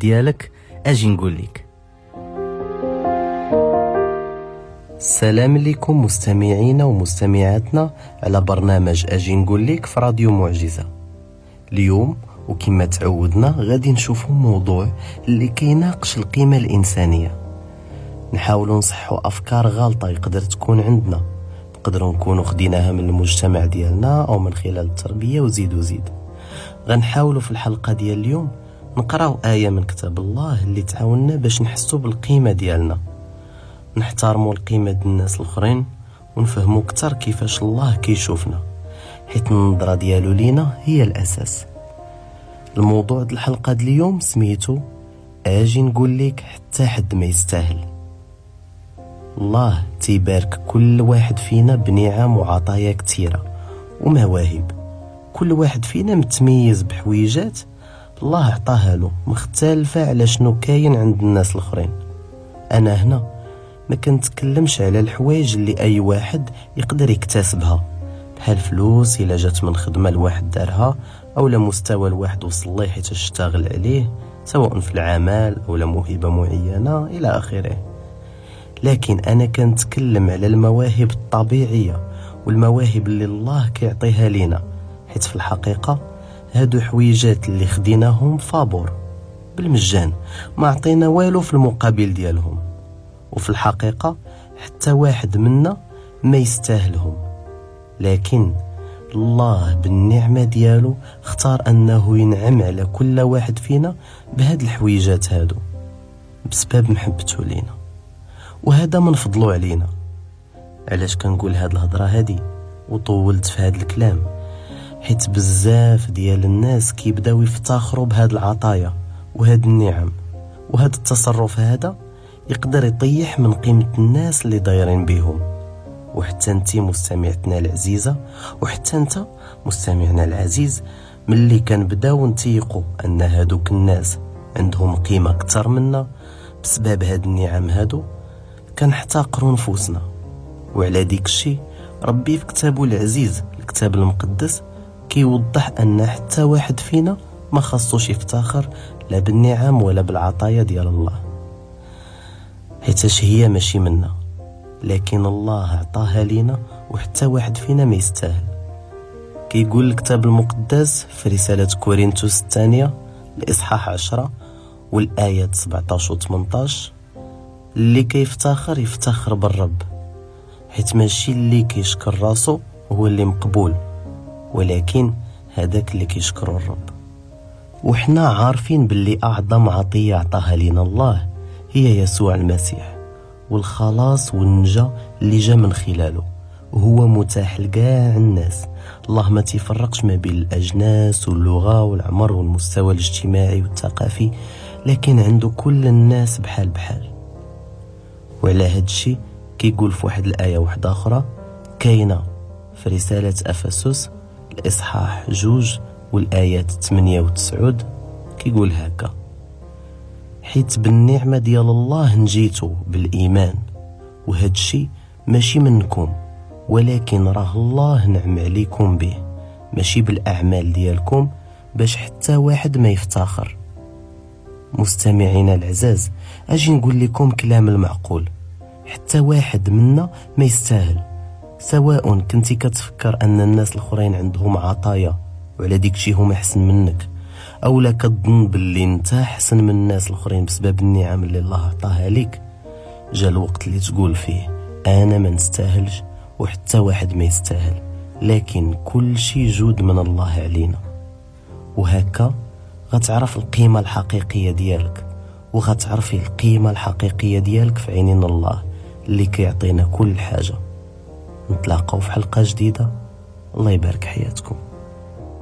ديالك اجي نقول لك. السلام عليكم مستمعينا ومستمعاتنا على برنامج اجي نقول لك في راديو معجزة. اليوم وكما تعودنا غادي نشوفوا موضوع اللي كيناقش القيمة الإنسانية. نحاولوا نصحوا أفكار غلطة يقدر تكون عندنا، نقدروا نكونوا خديناها من المجتمع ديالنا أو من خلال التربية وزيد وزيد. غنحاولوا في الحلقة ديال اليوم نقراو آية من كتاب الله اللي تعاوننا باش نحسوا بالقيمة ديالنا، نحترموا القيمة ديال الناس الآخرين، ونفهموا أكثر كيفاش الله كيشوفنا، حيت النظرة ديالو لينا هي الأساس. الموضوع ديال الحلقة ديال اليوم سميتو اجي نقول لك حتى حد ما يستاهل. الله تيبارك كل واحد فينا بنعم وعطايا كثيرة ومواهب، كل واحد فينا متميز بحويجات الله عطاها له مختلفة على شنو كاين عند الناس الآخرين. أنا هنا ما كنتكلمش على الحوايج اللي أي واحد يقدر يكتسبها، بحال فلوس إلا جات من خدمة الواحد دارها، أو لمستوى الواحد وصل ليه حيت اشتغل عليه، سواء في العمل أو لموهبة معينة إلى آخره. لكن أنا كنتكلم على المواهب الطبيعية والمواهب اللي الله كيعطيها لينا، حيت في الحقيقة هادو حويجات اللي خديناهم فابور بالمجان، ما عطينا والو في المقابل ديالهم، وفي الحقيقة حتى واحد منا ما يستاهلهم. لكن الله بالنعمة ديالو اختار أنه ينعم على كل واحد فينا بهاد الحويجات هادو بسبب محبته لينا، وهذا من فضله علينا. علاش كنقول هاد الهضرة هادي وطولت في هاد الكلام؟ حيت بزاف ديال الناس كيبداو يفتخروا بهاد العطايا وهاد النعم، وهاد التصرف هذا يقدر يطيح من قيمة الناس اللي دايرين بيهم. وحتى انت مستمعتنا العزيزة، وحتى انت مستمعنا العزيز، ملي كنبداو نتيقوا ان هادوك الناس عندهم قيمة اكثر منا بسبب هاد النعم هادو، كنحتقروا نفوسنا. وعلى ديك الشيء ربي في كتابه العزيز الكتاب المقدس كيوضح ان حتى واحد فينا ما خصوش يفتخر لا بالنعم ولا بالعطايا ديال الله، حيتاش هي ماشي منا، لكن الله عطاها لينا وحتى واحد فينا ما يستاهل. كيقول الكتاب المقدس في رسالة كورنثوس الثانية الإصحاح 10 والآيات 17 و 18: اللي كيفتخر يفتخر بالرب، حيت ماشي اللي كيشكر راسو هو اللي مقبول، ولكن هذاك اللي كيشكر الرب. وحنا عارفين باللي أعظم عطية عطاها لنا الله هي يسوع المسيح، والخلاص والنجاة اللي جا من خلاله، وهو متاح لكاع الناس. الله ما تيفرقش ما بين الأجناس واللغة والعمر والمستوى الاجتماعي والثقافي، لكن عنده كل الناس بحال بحال. وعلى هاد الشيء كيقول في واحد الآية واحدة أخرى كاينة في رسالة أفسس الإصحاح 2 والآيات 8 و 9، كيقول هكا: حيت بالنعمة ديال الله نجيتو بالإيمان، وهاد الشيء ماشي منكم، ولكن راه الله نعم عليكم به، ماشي بالأعمال ديالكم، باش حتى واحد ما يفتخر. مستمعينا العزاز، أجي نقول لكم كلام المعقول، حتى واحد منا ما يستاهل. سواء كنتي كتفكر أن الناس الآخرين عندهم عطايا وعلى ديك شي هما أحسن منك، أو لا كتظن باللي انت أحسن من الناس الآخرين بسبب النعم اللي الله عطاها لك، جا الوقت اللي تقول فيه أنا ما نستاهلش وحتى واحد ما يستاهل، لكن كل شي جود من الله علينا. وهكا غتعرف القيمة الحقيقية ديالك، وغتعرفي القيمة الحقيقية ديالك في عينين الله اللي كيعطينا كل حاجة. نتلاقاو في حلقة جديدة. الله يبارك حياتكم.